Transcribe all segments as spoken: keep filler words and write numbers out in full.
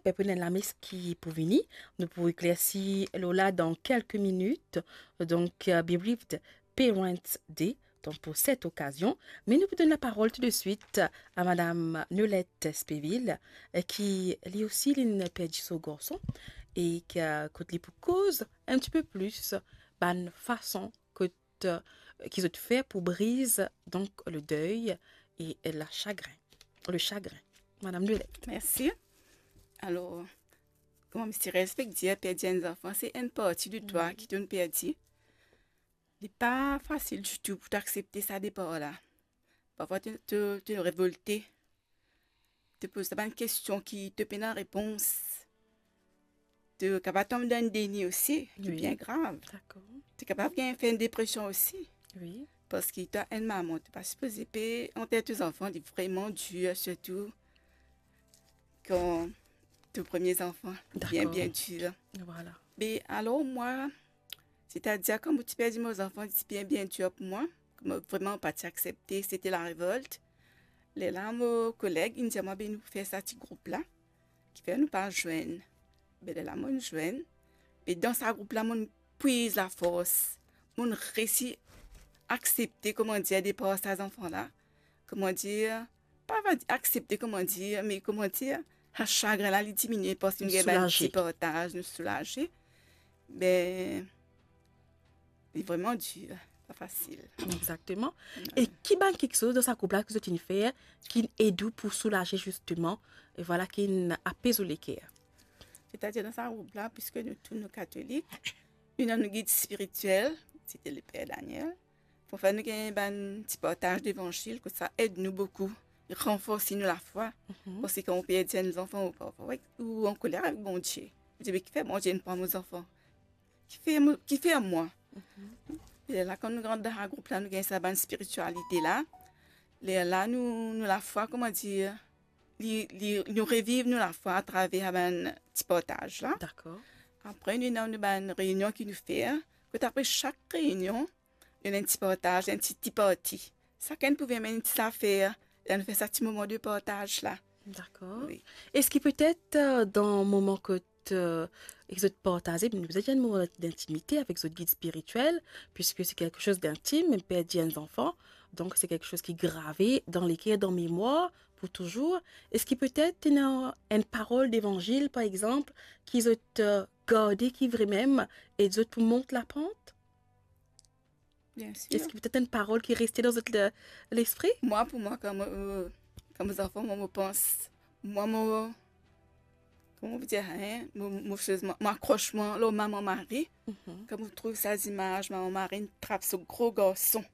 pe pou ena lames ki pou vini, nou pou eklersi lor la dan kelke minit. Donk, euh, Bereaved Parents Day, donk pou set okazion. Me nou pou donn laparol tou de swit a Madam Nolette Spéville, euh, ki li osi, linn perdi so garson, e ki, euh, kot li pou koz enn tipe plis bann fason kot, euh, ki zot fer pou briz, donk, le deuil e la chagrin, le chagrin. Madam Nolette. Mersi. Alor, kouma Mister Respect dir, perdi enn zanfan, se enn parti de twa ki to'nn perdi. Li pa fasil ditou pou to aksepte sa depar la. Parfwa, to, to, to revolte. To poz twa bann kestion ki to pena repons. To kapav tonbe dan enn deni osi, ki bien grav. Dakor. To kapav gagn, fer enn depresion osi. Wi. Parski to enn mama, to pa sipoze pe anter to zanfan, li vreman dir, sirtou kan to premie zanfan, bien, dakor, bien dir. Vwala. Me alor mwa, setadir, kan mo ti perdi mo zanfan, li ti bien, bien dir pou mwa. Mo vreman pa ti aksepte, se ti larevolt. Lerla mo koleg inn dir mwa, be nou fer sa ti group la, kifer nou pa zwenn. Be lerla mo'nn zwenn. E dan sa group la, mo'nn pwiz lafors. Mo'nn resi aksepte, kouma dir, depar sa zanfan la. Kouma dir, pa va dir aksepte, kouma dir, me kouma dir, sa sagrin la, li diminie parski nou gagn bann ti partaz, nou soulaze. Be, li vreman dir, pa fasil. Exakteman. E ki bann kiksoz dan sa group la ki zot inn fer, ki'nn ed ou pou soulaze zisteman, e vwala, ki'nn apez ou leker? Setadir dan sa group la, piski nou tou nou katolik, nou ena nou gid spiritiel, se ti le per Daniel. Parfwa nou gagn bann ti partaz levanzil, kot sa ed nou boukou, ranforsi nou lafwa. Parski kan ou perdi enn zanfan, ou parfwa, wi, ou ankoler avek Bondie. Ou dir, me kifer Bondie inn pran mo zanfan? Kifer mo, kifer mwa? Lerla kan nou rant dan sa group la, nou gagn sa bann spiritialite la. Lerla nou, nou lafwa, kouma dir, li, li, nou reviv nou lafwa atraver sa bann ti partaz la. Dakor. Apre nou ena nou bann reynion ki nou fer. Kot apre sak reynion, nou ena enn ti partaz, enn ti, ti parti. Sakenn pou vinn amenn enn ti zafer, la nou fer sa ti moman de partaz la. Dakor. Wi. Eski petet, euh, dan moman kot, euh, ek zot partaze, me nou bizin enn moman d'intimite avek zot gid spiritiel, piski se kiksoz d'intim, perdi enn zanfan, donk se kiksoz ki grave dan leker, dan memwar pou touzour. Eski petet ena enn parol devanzil, par exanp, ki zot, euh, garde, ki vremem ed zot pou mont lapant? Bien sir. Eski petet enn parol ki reste dan zot le-, lespri? Mwa, pou mwa, kan mo, euh, kan mo zanfan, mwa, mo pans, mwa, mo, kouma mo dir, hein, mo, mo, mo akros mwa lor mama mari. Kan mo trouv sa zimaz, mama mari inn trap so gro garson,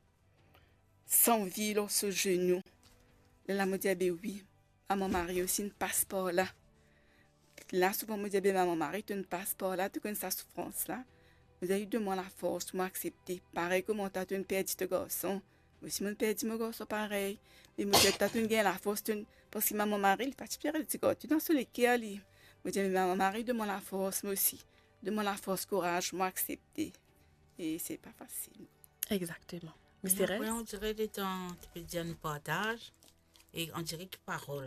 sanvi lor so zenou. Lerla mo dir, be wi, mama mari osi inn pas par la. La, souvan mo dir, be mama mari, to'nn pas par la, to konn sa soufrans la. Mo dir, donn mwa lafors pou mo aksepte. Parey kouma twa to'nn perdi to garson, mo osi mo'nn perdi mo garson parey. Me mo dir, twa to'nn gagn lafors, to'nn, parski mama mari, li pa ti pe rete, ti gard, tou dan so leker li. Mo dir, me mama mari, donn mwa lafors, mwa osi. Donn mwa lafors, kouraz, mo aksepte. E se pa fasil. Exakteman. Mister Apre, S? On dire letan to pe dir nou partaz, e on dire ki parol.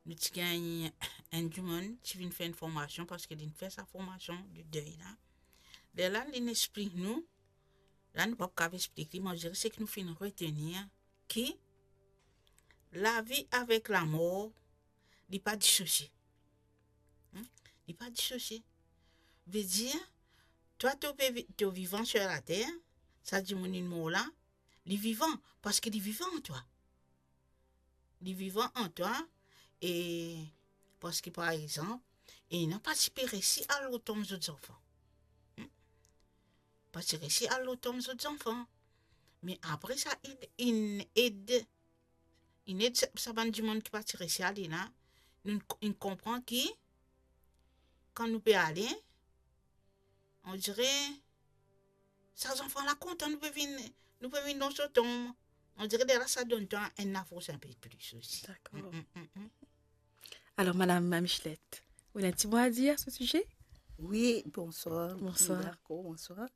Nou ti gagn enn dimoun ti vinn fer enn formasion, parski linn fer sa formasion de deuil la. Lerla linn explik nou, la nou pa kav explik li, me on dire seki nou finn retenir, ki lavi avek lamor, li pa disosie. Hmm? Li pa disosie. Vedir, twa to pe vi-, to vivan sir later, sa dimoun inn mor la, li vivan, parski li vivan an twa. Li vivan an twa, e parski, par exanp, ena pa ti pe resi al lor tonm zot zanfan. Hmm? Pa ti resi al lor tonm zot zanfan. Me apre sa, inn, inn ed, inn ed sa, sa bann dimoun ki pa ti resi ale la, nou, inn konpran ki, kan nou pe ale, on dire, sa zanfan la kontan nou pe vinn, nou pe vinn dan so tonm. On dire lerla sa donn twa enn lafors inpe plis osi. Dakor. Mm, mm, mm, mm. Alor, Madam Michelet, ou ena enn ti mo a dir a so size? Wi, bonswar. Bonswar. Dakor, bonswar.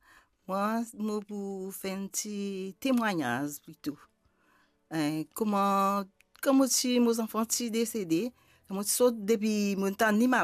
Mwa, mo pou fer enn ti temwagnaz plito. Eh, kouma, kan mo ti, mo zanfan ti desede, kan mo ti sot depi mo tann li malad,